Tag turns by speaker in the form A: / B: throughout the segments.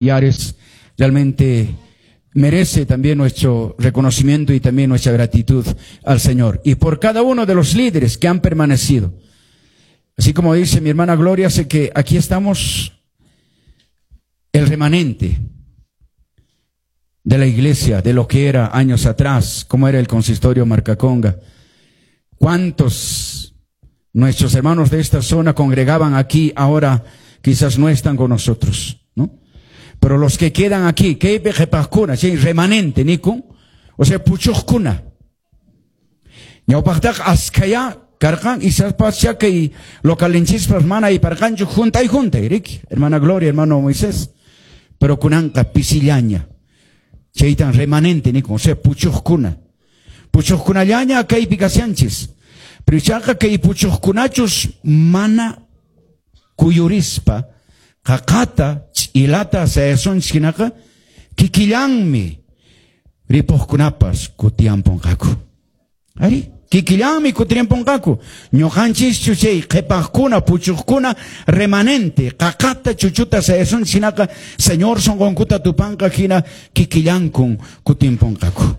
A: Yares realmente merece también nuestro reconocimiento y también nuestra gratitud al Señor. Y por cada uno de los líderes que han permanecido. Así como dice mi hermana Gloria, sé que aquí estamos el remanente de la iglesia, de lo que era años atrás, cómo era el consistorio Marcaconga. ¿Cuántos nuestros hermanos de esta zona congregaban aquí, ahora quizás no están con nosotros, ¿no? Pero los que quedan aquí, que remanente, nikun, o sea, puchuqkuna. Ñawpaqtaqa askhaya karqan, isaspacha kay localinchispas mana ayparqanchu juntay juntay, riki, hermana Gloria, hermano Moisés. Pero kunanqa pisillaña. Chaytan remanente, nikun, o sea, puchuqkuna. Puchuqkunallaña kaypi kashanchis. Pero ichaqa kay puchuqkunachus mana kuyurispa, qaqata, ch'ilata sayasunchis hinaqa, kikillanmi ripuqkunapas kutiyanpunqaku. Ari, kikillanmi kutiyanpunqaku. Ñuqanchischu chay qhipaqkuna, puchuqkuna, remanente, qaqata, chuchuta sayasunchis hinaqa, Señor sunqunkuta tupanqa hina kikillankun kutinpunqaku.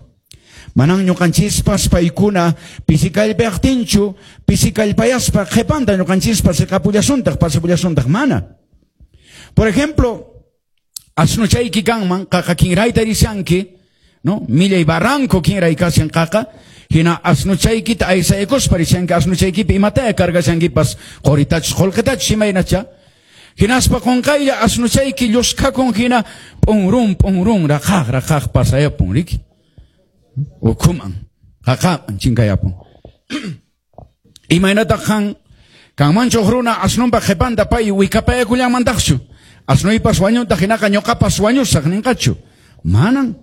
A: Manan ñuqanchispas paykuna pisikallpayaqtinchu, pisikallpayaspa qhipanta ñuqanchispas siqapullasuntaq, pasapullasuntaq, mana. Por ejemplo, asnuchayki kanman, qaqa kinrayta rishanki, ¿no? Millay barranco kinray kashan qaqa, hina asnuchaykita aysaykuspa rishanki, asnuchaykipi imataya cargashankipas, qoritachus, qullqitachus imaynacha. Hinaspa qunqaylla asnuchayki lluskakun hina p'unrun, p'unrun, raqaq, raqaq pasayapun, riki. Ukhuman, qaqaman chinkayapun. Imaynataq qan kanmanchu huk runa asnunpa qhipanta pay wikapayakullanmantaqchu? Asnuypas wañuntaq hinaqa ñuqapas wañusaq ninqachu? Manan,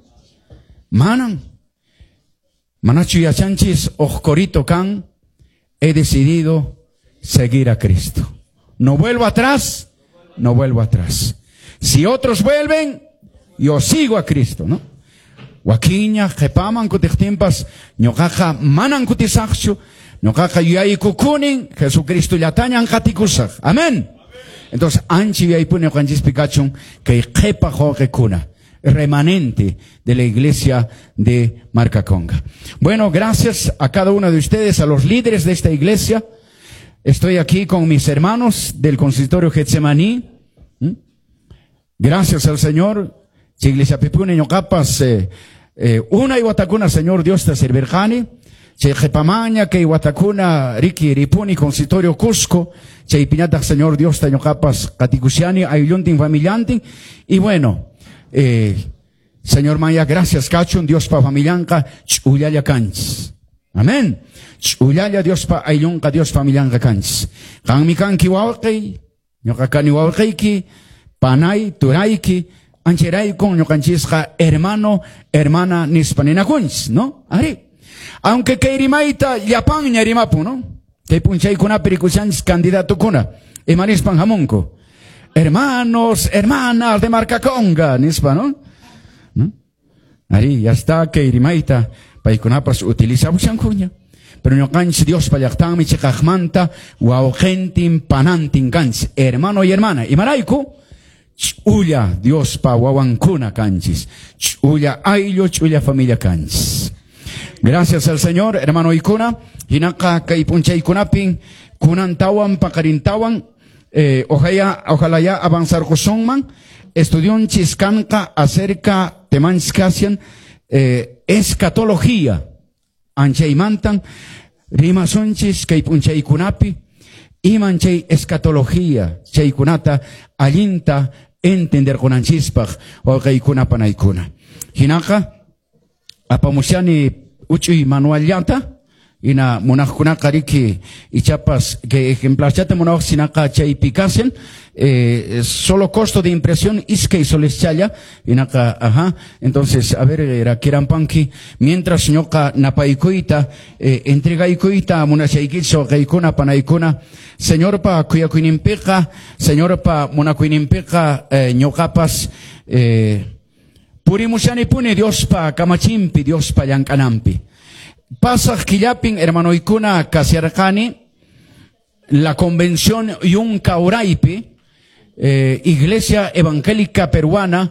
A: manan. Manachu yachanchis huk corito kan, he decidido seguir a Cristo. No vuelvo atrás, no vuelvo atrás. Si otros vuelven, yo sigo a Cristo, ¿no? Wakiña, qhipaman kutiqtinpas, ñuqaqa manan kutisaqchu, ñuqaqa yuyaykukunin, Jesucristo llatañan qatikusaq. Amén. Entonces, anchi yuyaypuni ñuqanchispi kachun kay qhipa wawqikuna, remanente de la iglesia de Marcaconga. Bueno, gracias a cada uno de ustedes, a los líderes de esta iglesia. Estoy aquí con mis hermanos del consistorio Getsemaní. Gracias al Señor. Chay iglesia pipuni ñuqapas, unay watakuna, Señor Dios ta servirqani. Chay qhipamaña kay watakuna riki ripuni consistorio Cusco. Chay piñataq Señor Dios ta ñuqapas qatikushani aylluntin familiantin. Y bueno, Señor Maya, gracias kachun Dios pa familianqa ch'ullalla kanchis. Amén. Ch'ullalla Dios pa ayllunqa Dios familianqa kanchis. Qanmi kanki wawqiy, ñuqa kani wawqiyki, panay, turayki, ancheraykun ñuqanchisqa hermano, hermana nispa ninakunchis, ¿no? Ari. Aunque kay rimayta llapanña rimapun, ¿no? Kay p'unchaykunapi rikushanchis candidatukuna, ima nispan hamunku. Hermanos, hermanas de Marcaconga, nispa, ¿no? ¿No? Ari, ya está, kay rimayta paykunapas utilizabushankuña. Pero ñuqanchis Dios pa llaqtanmi chiqaqmanta wawqintin panantin kanchis, hermano y hermana. Imarayku? Ch'ulla Dios pa wawankuna kanchis. Ch'ulla ayllu, ch'ulla familia kanchis. Gracias al Señor, hermano ikuna. Hinaqa kay p'unchaykunapin kunantawan paqarintawan, ojalá ya avanzar kusunman. Estudionchis kanqa acerca temanchis kasian, escatología. Anchaymantan rimasunchis kay p'unchaykunapi iman chay escatología chaykunata allinta entender kunanchispaq wawqiykuna panaykuna. Hinaqa apamushani uch'uy manuallata ina munaqkunaqa riki ichapas que ejemplarchata munawaq sinaqa chaypi kasen, solo costo de impresión iskay soles challa inaqa, ajá. Entonces, a ver, era kirampanki mientras ñuqa napaykuyta, entregaykuyta munashaykichis wawqiykuna panaykuna, Señorpa kuyakuyninpiqa, Señorpa munakuyninpiqa, ñuqapas, purimushanipuni Diospa kamachinpi, Diospa llank'ananpi. Pasaq killapin, hermanoykuna, kasiarqani la convención Yunka Uraypi, Iglesia Evangélica Peruana.